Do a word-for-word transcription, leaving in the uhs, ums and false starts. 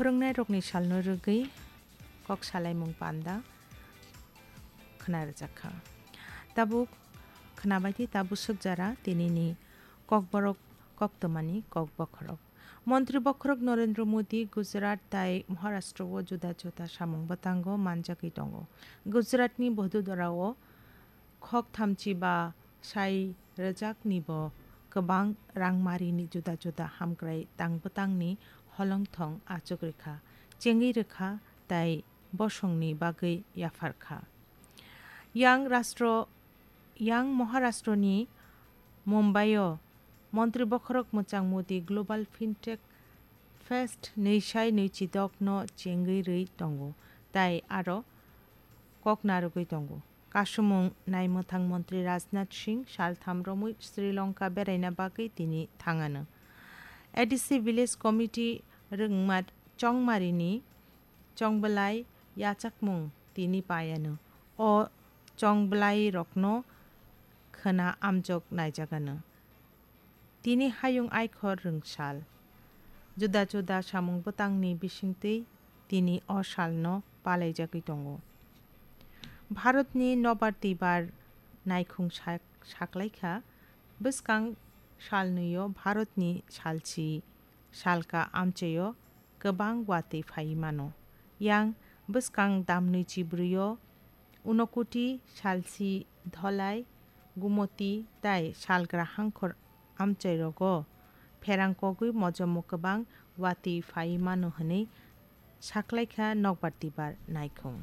Phwrwngnairokni salno rwgwi kok salaimung panda khwna rwjak kha. Tabuk khwnabaidi tabuk swkjara tinini Kokborok koktwmani kok bokhorok. Montri bokhorok Narendra Modi Gujarat tai Maharashtra o juda juda samung bwtango manjagwi tongo. Gujaratni Bhododara o khok thamchi ba sai rwjakni bo kwbang rangmarini juda juda hamkrai tang bwtangni holongthong achuk rwkha, chengwi rwkha tai bosongni bagwi yaphar kha. Yang Rastro, Yang Maharashtroni Mumbai o Montri bokhorok mwchang Modi Global Fintech Fest nwi sai nwi chidok no chengwi rwi tongo tai aro kok narwgwi tongo. Kasumung naimwthang montri Rajnath Singh saltham romwi Sri Lanka beraina bagwi tini thangano. A D C Village Committee rwngma chongmarini chongbwlai yachakmung tini paiano. O chongbwlairokno khwna amjok naijagano. Tini hayung aikhor rwngsal. Juda juda samung bwtangni bisingtwi tini o salno palaijagwi tongo. Bharatni nobar twibar naikhung sak-, saklaikha, bwskang salnwio Bharatni salsi salka amchaio kwbang watwi phaiwi mano. Yang bwskang damnwi chibrwio Unokoti, Salsi, Dholai, Gumoti tai salgra hangkhor amchairogo pherang kogwi mojomo kwbang watwi phaiwi mano hwnwi saklaikha nokbar twibar naikhung.